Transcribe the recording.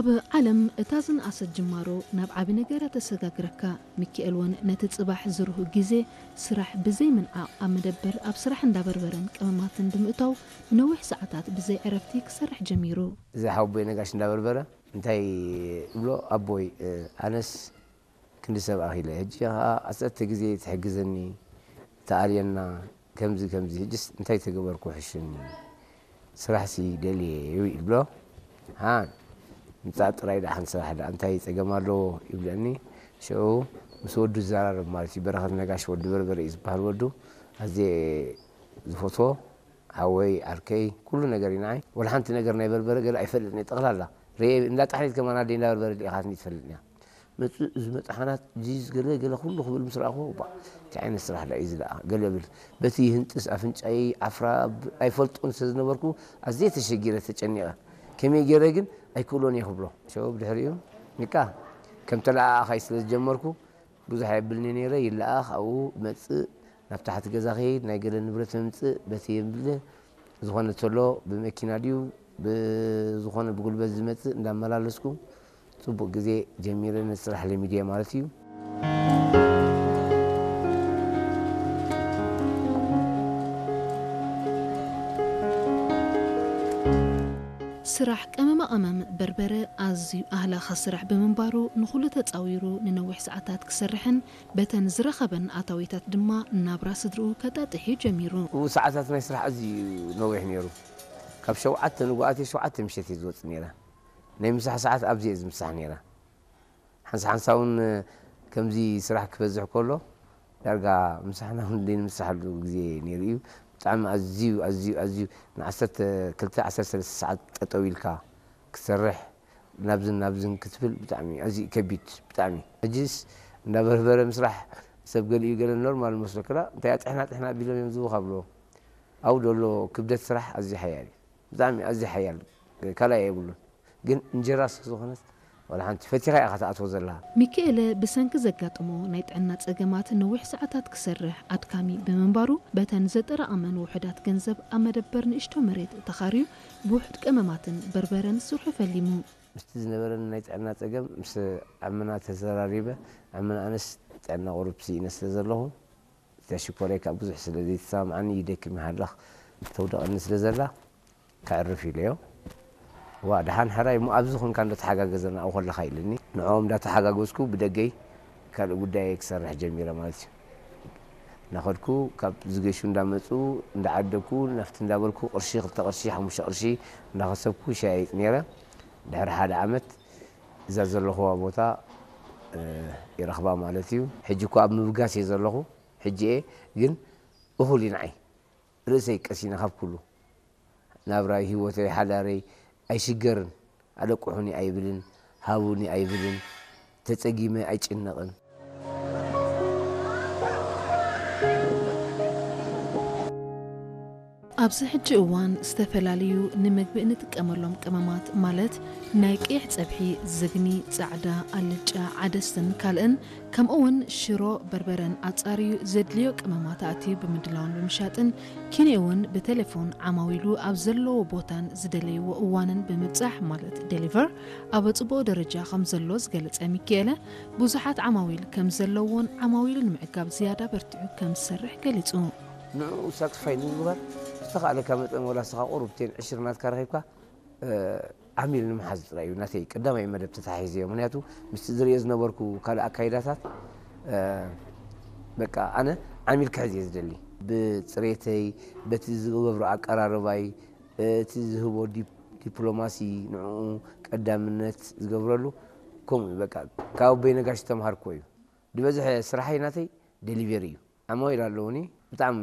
ብዓለም እታ ዝነኣሰት ጅማሮ ናብ ዓቢ ነገር እያ ተሰጋግረካ። ሚኪኤል እውን ነቲ ጽባሕ ዝርሁ ግዜ ስራሕ ብዘይ ምንዓቕ ኣብ መደበር ኣብ ስራሕ እንዳበርበረን ቀመማትን ብምእታው ንነዊሕ ሰዓታት ብዘይ ዕረፍቲ ክሰርሕ ጀሚሩ። እዚ ሓወቦይ ነጋሽ እንዳበርበረ እንታይ እብሎ ኣቦይ ኣነስ ክንዲ ሰብ ኣኺለ ሕጂ ኸዓ ዓሰርተ ግዜ ትሕግዘኒ ተኣልየና ከምዚ ከምዚ ሕጅስ እንታይ ተገበርኩ ሕሽኒ ስራሕሲ ደልየ እዩ ይብሎ። ሃ ምጻእ ጥራይ ደኣ ሓንቲ ስራሕ ደኣ እንታይ ጸገም ኣለዎ ይብለኒ። ሽዑ ምስ ወዱ ዝዘራረብ ማለት እዩ። በረኸት ነጋሽ ወዲ በርበረ እዩ ዝበሃል ወዱ። ኣዝየ ዝፈትዎ ሓወይ ዓርከይ ኩሉ ነገር እዩ ንዓይ። ወላ ሓንቲ ነገር ናይ በርበረ ገለ ኣይፈልጥን እየ። ጠቕላላ ርኤ እንዳ ጣሕኒት ከማን ኣደይ እንዳ በርበረ ልኢኻትኒ ትፈልጥን እያ። መጽእ እዚ መጥሓናት ጂዝ ገለ ገለ ኩሉ ክብል ምስ ረኣኹ ባ እንታይ ዓይነት ስራሕ ደኣ እዩ እዚ ደኣ ገለ ብል በቲ ይህንጥስ ኣፍንጫይ ዓፍራ ብ- ኣይፈልጦን ስለ ዝነበርኩ ኣዝየ ተሸጊረ ተጨኒቐ ከመይ ገይረ ግን ኣይክእሎን እየ ክብሎ ሸው ብድሕሪኡ ንቃ ከም ተለኣኣኻይ ስለ ዝጀመርኩ ብዙሕ ኣየብልኒ ነይረ ይለኣኽ ኣብኡ መጽእ ናብ ታሕቲ ገዛ ከይድ ናይ ገለ ንብረት ምምጽእ በቲ የምብል ዝኾነ ተሎ ብመኪና ድዩ ብዝኾነ ብጉልበት ዝመጽእ እንዳመላለስኩ ጽቡቕ ግዜ ጀሚረ ነቲ ስራሕ ለሚድየ ማለት እዩ። ስራሕ ቀመማ ቀመም በርበረ ኣዝዩ ኣህላኻ ስራሕ ብምንባሩ ንኹሉ ተጻዊሩ ንነዊሕ ሰዓታት ክሰርሕን በተን ዝረኸበን ኣታዊታት ድማ ናብራ ስድርኡ ከጣጥሕ እዩ ጀሚሩ። እው ሰዓታት ናይ ስራሕ ኣዝዩ ነዊሕ ነይሩ። ካብ ሸውዓተ ንጉኣት ሸውዓተ ምሸት እየ ዝወፅእ ነይረ። ናይ ምሳሕ ሰዓት ኣብዚ እየ ዝምሳሕ ነይረ። ሓንሳ ሓንሳ እውን ከምዚ ስራሕ ክበዝሕ ከሎ ዳርጋ ምሳሕና እውን ዘይንምሳሓሉ ግዜ ነይሩ እዩ። ብጣዕሚ ኣዝዩ ኣዝዩ ኣዝዩ ንዓሰርተ ክልተ ዓሰርተ ሰለስተ ሰዓት ጠጠው ኢልካ ክትሰርሕ ናብዝን ናብዝን ክትብል ብጣዕሚ ኣዝዩ ከቢድ ብጣዕሚ ሕጂስ እንዳበርበረ ምስራሕ ሰብ ገሊኡ ገለ ኖርማል መስሎ ክላ እንታይ ጥሕና ጥሕና ቢሎም እዮም ዝቡኻ ብሎ ኣብኡ ዘሎ ክብደት ስራሕ ኣዝዩ ሓያል እዩ ብጣዕሚ ኣዝዩ ሓያል ካልኣይ የብሉን ግን እንጀራ ስለ ዝኾነት ዋላ ሓንቲ ፈቲኻ ኢኻ ትኣትዎ ዘለኻ። ሚኪኤለ ብሰንኪ ዘጋጠሞ ናይ ጥዕና ጸገማት ነዊሕ ሰዓታት ክሰርሕ ኣድካሚ ብምንባሩ፣ በተን ዘጠራቐመን ውሑዳት ገንዘብ ኣብ መደበር ንእሽቶ መሬት ተኻርዩ ብውሑድ ቀመማትን በርበረን ስርሑ ፈሊሙ። ምስቲ ዝነበረኒ ናይ ጥዕና ጸገም ምስ ዕምና ተዘራሪበ፣ ዕምና ኣነስ ጥዕና ቁሩብ ስኢነ ስለ ዘለኹ፣ እታ ሽኮረይ ከኣ ብዙሕ ስለ ዘይትሰማምዓኒ ይደክም ይሃልኽ ተውድቐኒ ስለ ዘላ፣ ከዕርፍ ኢለዮ። ዋ ደሓን ሕራይ እሞ ኣብዚ ኾንካ እንዶ ተሓጋገዘና ኣብኡ ከለኻ ኢልኒ። ንዕኦም እንዳተሓጋገዝኩ ብደገይ ካልእ ጉዳየይ ክሰርሕ ጀሚረ ማለት እዩ። እናኸድኩ ካብ ዝገሹ እንዳመፁ እንዳዓደግኩ ናፍቲ እንዳበልኩ ቅርሺ ክልተ ቅርሺ ሓሙሽተ ቅርሺ እንዳኸሰብኩ ይሸያይጥ ነይረ። ድሕሪ ሓደ ዓመት እዛ ዘለኹዋ ቦታ ይረኽባ ማለት እዩ። ሕጂ እኮ ኣብ ምብጋስ እየ ዘለኹ። ሕጂ እየ ግን እኹል እዩ ንዓይ። ርእሰይ ቀሲነ ካብ ኩሉ ናብራይ፣ ህይወተይ፣ ሓዳረይ ኣይሽገርን። ኣለቁሑኒ ኣይብልን፣ ሃቡኒ ኣይብልን፣ ተጸጊመ ኣይጭነቕን። ኣብዚ ሕጂ እዋን ዝተፈላለዩ ንምግቢ እንጥቀመሎም ቀመማት ማለት ናይ ቀይሕ ጸብሒ፣ ዝግኒ፣ ጻዕዳ፣ ኣልጫ፣ ዓደስን ካልእን ከምኡ እውን ሽሮ፣ በርበረን ኣጻርዩ ዘድልዮ ቀመማት ኣእትዩ ብምድላውን ብምሻጥን ኪንኡ እውን ብቴሌፎን ዓማዊሉ ኣብ ዘለውዎ ቦታን ዝደለይዎ እዋንን ብምብጻሕ ማለት ዴሊቨር ኣብ ጽቡቕ ደረጃ ከም ዘሎ ዝገለጸ ሚኪኤለ፣ ብዙሓት ዓማዊል ከም ዘለውዎን ዓማዊሉ ንምዕጋብ ዝያዳ በርቲዑ ከም ዝሰርሕ ገሊጹ። ንዕኡ ሳትስፋይ ንምግባር ዝተኻእለካ መጠን ወላ ንስኻ ቁሩብ ቴን ዕሽር ናትካ ረኺብካ ዓሚል ንምሓዝ ጥራይ እዩ ናተይ ቀዳማይ መደብ ተታሒዘዮ። ምኽንያቱ ምስቲ ዝርእዮ ዝነበርኩ ካልእ ኣካይዳታት በቃ ኣነ ዓሚል ክሕዝ እየ ዝደሊ። ብፅሬተይ፣ በቲ ዝገብሮ ኣቀራርባይ፣ እቲ ዝህቦ ዲፕሎማሲ ንዕኡ ቀዳምነት ዝገብረሉ ከምኡ እዩ። በቃ ካብ ኣቦይ ነጋሽ ዝተምሃርኩዎ እዩ። ዝበዝሐ ስራሐይ ናተይ ዴሊቨሪ እዩ። ዓማዊል ኣለውኒ ብጣዕሚ